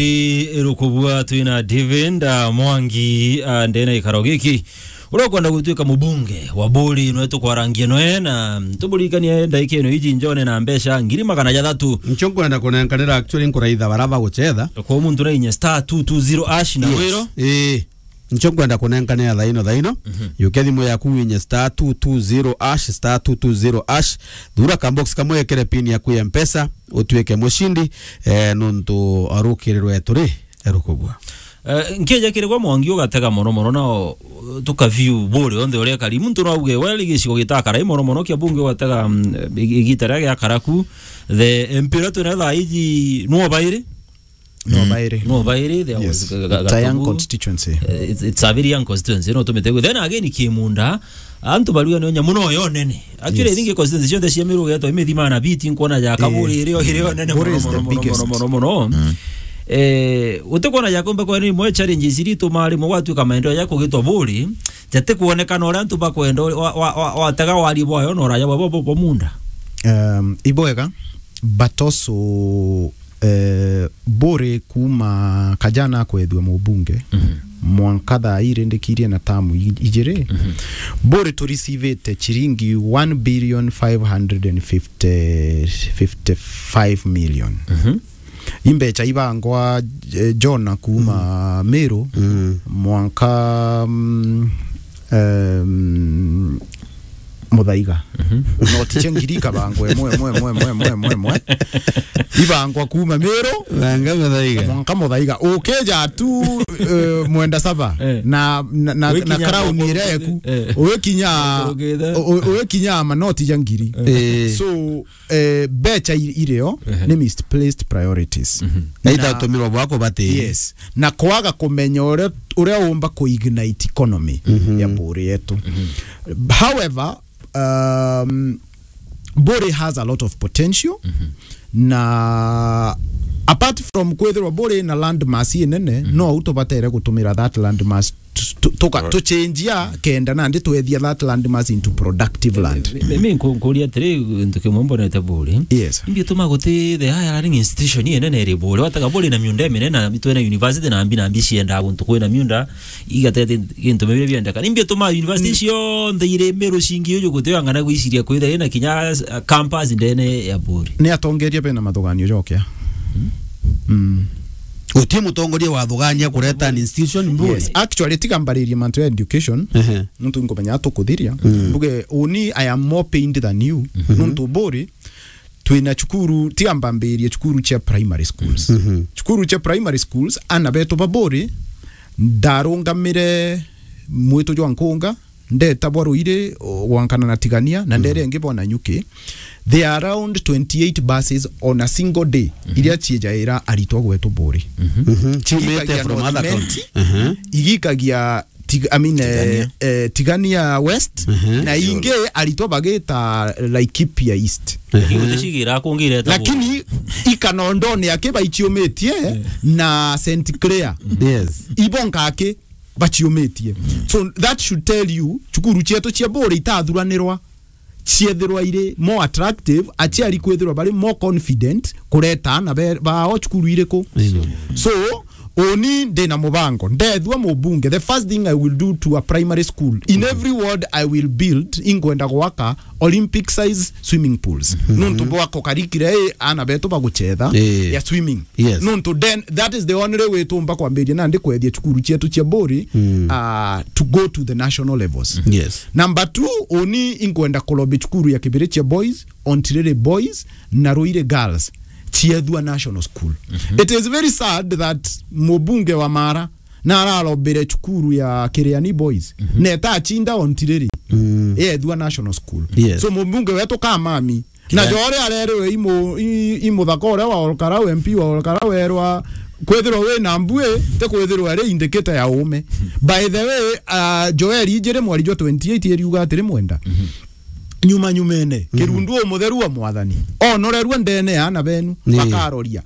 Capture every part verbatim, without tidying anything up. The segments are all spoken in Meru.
Irukubua twina David, ah, Mwangi, ah, ndena ikaro giki. Uria ukwenda gutuika mubunge wa Buuri, nwe tukwarangia nwe, na tuburirikanie ndaika ino iji njone na mbeca ngiri magana jathatu. Ncho nkwenda kunenkanira, actually, nkuraitha bara bagucetha. Kwa muntu na inya star two two zero hash na wiro. Ii. Ncho nkwenda kunenkanira thaino, thaino. Mhm. Yukia thimu yaku winye star two two zero hash, star two two zero hash. Thura ka box kamwe, ekere pin yaku ya Mpesa, utuike mucindi, eh, nontu arukirirwe turi erukubua. Eh, nkija kiri gwa Mwangi ugatega mono mono, nao, uh, tuka view Buuri onthe uria ekari. Muntu no auge, well, gicigo gitakarai mono mono kia bunge ugatega, mm, igi-, igita riria giakara ku. The M P uria twina thaa iji no bairi. No, mm, bairi. No bairi, there was Ga-, Ga-, It's a young Gatubu constituency. Eh, it's, it's a very young constituency, no tumite. Then again, Kimunda, antu baruga ni nyamu no yo nene. Actually, yes, I think constituency cionthe cia Meru ugetwa imithima na biti, nkwona ja Kaburi, eh, iri o, iri o nene Buuri mono, is the mono, mono, biggest, mono, mono, mono. Mm. Eh, utikwona ja kumbe kwa ni mwe challenges iri tumari mwe gwatuika maendeleo ja kugitwa Buuri, jati kuonekana uria antu bakwenda, wa, wa, wa, watega wari bwayo na uraja bwa, bwa, bwa, bwa munda. Um, ibwega, but also, eh, Buuri kuma kajana akwethua mubunge, mhm, mwanka thaa ii rindikirie na tamu i-, ijiri, mhm, Buuri turisivite chiringi one billion five hundred and fifty, fifty-five million. Mhm. Imbecha ibangwa, eh, Jona kuma, mhm, Meru, mhm, mwanka, mm, em, Muthaiga. Mhm. Noti cia ngiri ikabangwa imwe, imwe, imwe. Ibangwa kuma Meru. Banga Muthaiga. Mwanka Muthaiga. Ukija tu, eh, Mwenda Saba. Eh. Na, na, na, na Wikinya crown iri eku. Eh. Ugikinya, Ugikinya. U-, u-, ugikinya manoti ja ngiri. Eh. So, eh, mbecha i-, irio, ehe, ni misplaced priorities. Mhm. Na itatumirwa bwa kubati. Yes. Na kwaga kumenya uria, uria umba ku ignite economy, mhm, ya Buuri yetu. Mhm. However, um, Buuri has a lot of potential. Mhm. Na apart from kwithirwa Buuri na land mass inene, mhm, no au tubatere gutumira that land mass tu-, tu-, tuka-, tuchenjia kenda nandi twethia that land mass into productive land. Mi, mi, mi nku-, nkuria atiri, gintu kimwe mbonete Buuri. Yes. Imbi tuma guti the hiring institution inene iri Buuri. Watega Buuri na miunda iminene, na twina university na mbi na mbi cienda guntu kwina miunda, igatete gintu mibire biendeka. Imbi tuma university, mm, cionthe iri Meru cingi uju guti ang'ana gwiciria kwithira ina kinya, uh, campus ndene ya Buuri. Ni atongeria bena mathuganio jokia. Mm. Mm. Guti mutongoria wathugania kureta an institution Buuri. Yes. Actually, tiga mbaririe mantu ya education, ehe, nontu nkumenya tukuthiria. Mm. Mbuge, uni, I am more pained than you. Mhm. Nontu Buuri, twina cukuru, tiga mbambirie cukuru cia primary schools. Mhm. Cukuru cia primary schools, ana betu ba Buuri, ndarungamire mwitu jwa Nkunga, ndeta bwa Ruiri, o, gwankana na Tigania, na ndere, mm, ingi bwa Nanyuki. There are around twenty-eight buses on a single day, mhm, iria ciejaira aritwa gwetu Buuri. Mhm. Mhm. Ciumite igikagia from other North Imenti, county. Mhm. Igikagia Tig-, I mean, eh, Tigania, eh, Tigania West, mhm, na ingi aritwa bagita Laikipia East. Mhm. Lakini guticigira kungireta Buuri. Lakini ikanondone aki baichiumitie, eh, na Saint Clair. Yes. Ibo nkaki bachiumitie. So that should tell you, cukuru cietu cia Buuri itathuranirwa, ciethirwa iri more attractive, aciari kwithirwa bari more confident kureta ana be-, bao cukuru iriku. Amen. So, uni ndina mubango, ndethua mubunge, the first thing I will do to a primary school, in every ward I will build, ingwenda gwaka Olympic size swimming pools. Mhm. Nontu bwa kukarikira i ana betu baguchetha, eh, ya swimming. Yes. Nontu then, that is the only way tumba kwambiria nandi kwethia cukuru cietu cia Buuri, mm, uh, to go to the national levels. Yes. Number two, uni inkwenda kulobi cukuru ya Kibirichia Boys, Ontiriri Boys, na Ruiri Girls ciethua national school. Mhm. It is very sad that mubunge wa Mara na ararobire cukuru ya Kiriani Boys, mhm, na etachinda Ontiriri, mm, yethua national school. Yes. So mubunge wetu Kamami, na, yeah, jore arerwe imu-, i-, imuthaka uria wa Olkarau, M P wa Olkarau, erwa kwithirwa wi na mbui, ti kwithirwa iri indicator ya uume. By the way, uh, Joel Ijiri mwari jwa twenty-eight iriuga atiri Mwenda. Mhm. Nyuma nyumene, mhm, Kirundu umutheru wa Mwathani onorerua ndene ya ana benu, ni, bakaroria.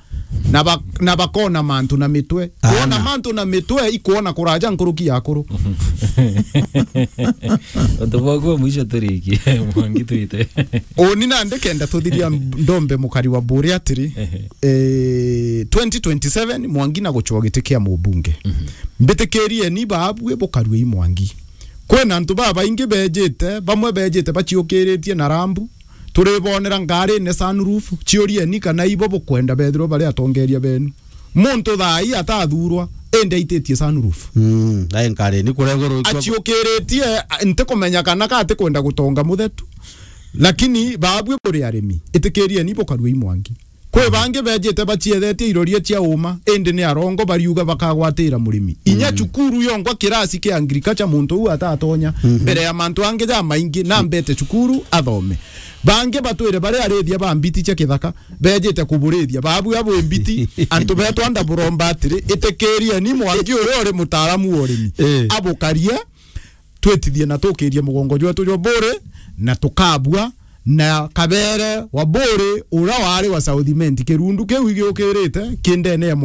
Na ba-, na bakona mantu na mitwe. Ana. Kuona mantu na mitwe, ikwona kuraja nkuruki ya akuru. Untu bwaku bwa mwisho turiki, Mwangi twite. Uni nandi kenda tuthiria ndombe mukari wa Buri atiri, eh, twenty twenty-seven, Mwangi na gucwa giti kia mubunge. Mhm. Mbitikirieni baabue bukarue i Mwangi. Kwina antu babaingi bejite, bamwe bejite baciukiritie na rambu. Turibonera ngarine sunroof, ciurieni kana ibo bukwenda bethirwe bari atongeria benu. Muntu thaa ii atathurwa, indi aititie sunroof. Mm, ai ngarine kuregorwo ikwa- Aciukiritie, a, ntikumenya kana ka atikwenda gutonga muthetu. Lakini baabue buri arimi, itikirieni bukarue i Mwangi. Kwi bangi bejite baciethetie iroria cia uma, indi ni arongo bariuga bakagwatira murimi. Inya Mm. cukuru yonkwa kirasi kia agriculture muntu uu atatonya, Mhm. mbere ya mantu angi jamaingi, na mbete cukuru athome. Bangi batwire bari arithia ba mbiti cia kithaka, bejite kuburithia. Baabue abwi mbiti, antu betwa ndaburomba atiri, itikirieni Mwangi uria uri mutaaramu wa urimi. Eh. Abukarie, twitithie na tukirie mugongo jwetu jwa Buri, na tukabua na Kabere wa Buri, uria wari wa South Imenti. Kirundu kiu igiukirite ki ndene ya Mwangi.